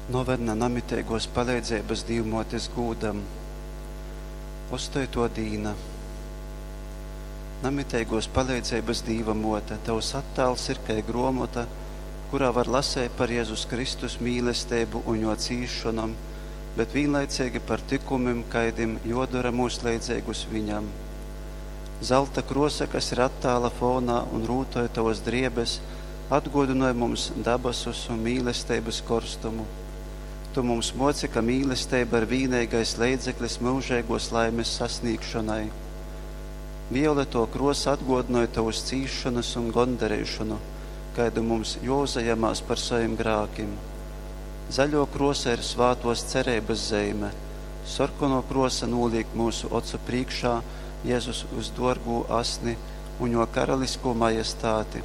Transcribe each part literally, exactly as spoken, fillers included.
Novena namiteiguos paleidzeibys Dīvmuotis gūdam. Ostoituo dīna. Namiteiguos paleidzeibys Dīva Muote, Tovs attāls ir kai gruomota, kurā var laseit par Jezus Kristus mīlesteibu un Juo cīsšonom, bet vīnlaiceigi par tykumim, kaidim juodora myus leidzeigus Viņam. Zalta kruosa, kas ir attāla fonā un rūtoj Tovys driebes, atguodynoj mums dabasus un mīlesteibys korstumu. Tu mums muoci, ka mīlesteiba ir vīneigais leidzeklis myužeiguos laimis sasnīgšonai. Violetuo kruosa atguodynoj Tovys cīsšonys un gondareišonu, kaidu mums juouzajamās par sovim grākim. Zaļuo kruosa ir svātuos cereibys zeime. Sorkonuo kruosa nūlīk myusu ocu prīškā Jezus vysduorgū asni un Juo karaliskū majestāti.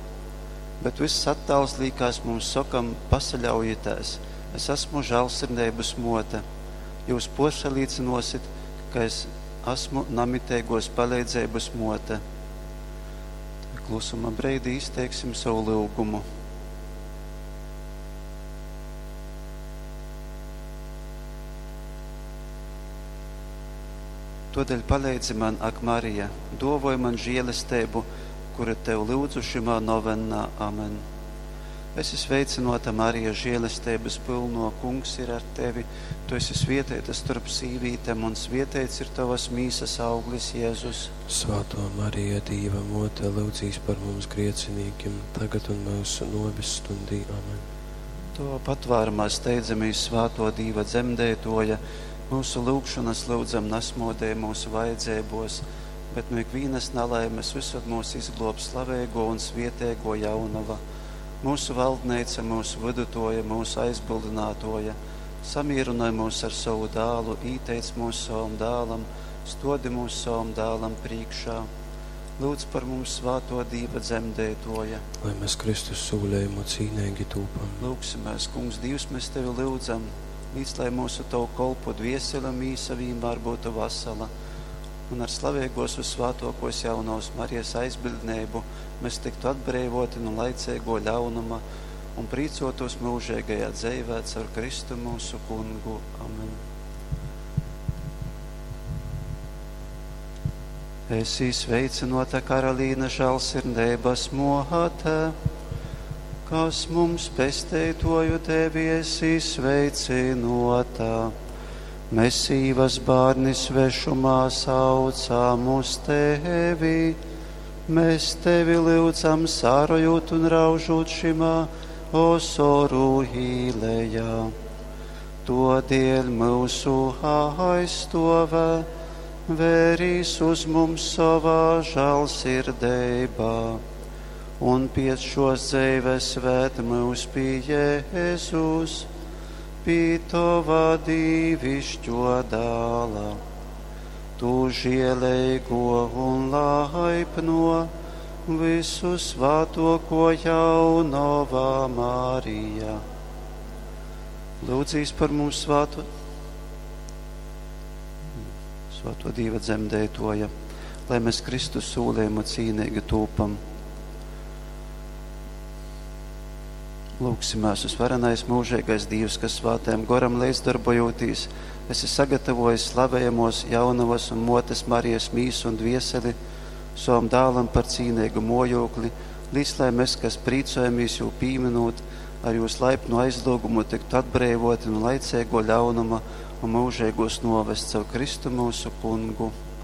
Bet vyss attāls līkās mums sokam: Pasaļaujitēs, es asmu žālsirdeibys muote. Jius puorsalīcynuosit, ka es asmu namiteiguos paleidzeibys muote. Klusuma breidī izteiksim sovu lyugumu. Tuodeļ paleidzi man, ak Marija, duovoj man žielesteibu, kuru Tev lyudzu šymā novennā. Amen. Esi sveicynuota, Marija, žielesteibys pylnuo, Kungs ir ar tevi. Tu esi svieteita storp sīvītem, un svieteits ir tovys mīsys auglis, Jezus. Svātō Marija, Dīva Mōte, lyudzīs par mums griecinīkim, tagad un myusu nōves stundī. Amen. Tovā patvārumā steidzamīs, svātō Dīva dzemdeituoja, myusu lyugšonys lyudzam nasmuodej myusu vajadzeibuos, bet nu ikvīnys nalaimes vysod myus izgluob slaveiguo un svieteiguo Jaunova, myusu valdneica, myusu vydutuoja, myusu aizbyldynātuoja. Samīrynoj myus ar sovu dālu, īteic myus sovam dālam, stuodi myus sovam dālam prīškā. Lyudz par mums, svātuo Dīva dzemdeituoja. Lai mēs Kristus sūlejumu cīneigi tūpam. Lyugsimēs, Kungs, Dīvs, mēs Tevi lyudzam, līc, lai myusu Tovu kolpu dviesele un mīsa vīnmār būtu vasala, un ar slaveigos vyssvātuokuos jaunovys Marijas aizbiļdneibu mēs tyktu atbreivoti nu laiceiguo ļaunuma un prīcuotūs myužeigajā dzeivē caur Kristu myusu Kungu. Amen. Esi sveicynuota, Karalīne, žālsirdeibys muote, kas mums pesteituoju tevi esi sveicynuota. Mēs sīvas bārni svešumā saucam uz tevi. Mēs tevi lyudzam, sārojot un raužot šimā osoru īlejā. Todēļ myusu aizstovē, vērīs uz mums savā žālsirdeibā, un piec šos dzeives ved mūs pie Jēzus, pie Tova dīvišķo dāla. Tu žēlīgo un laipno, visu svātoko jaunova Marija. Lūdzīs par mums svāto, svāto Dīva dzemdētoja, lai mēs Kristus sūlējumu cīnīgi tūpam. Lūgsimās uz varenais mūžīgais Dievs, kas svātajam goram līdzdarbojotīs, esi sagatavojis slavējamos jaunavas un motes Marijas mīsu un dvieseli savam dālam par cīnīgu mojokli, līdz lai mēs, kas prīcojamies jū pīminot, ar jūs laipnu aizlūgumu tiktu atbreivoti no laicīgo ļaunuma un mūžīgos novest caur Kristu mūsu kungu.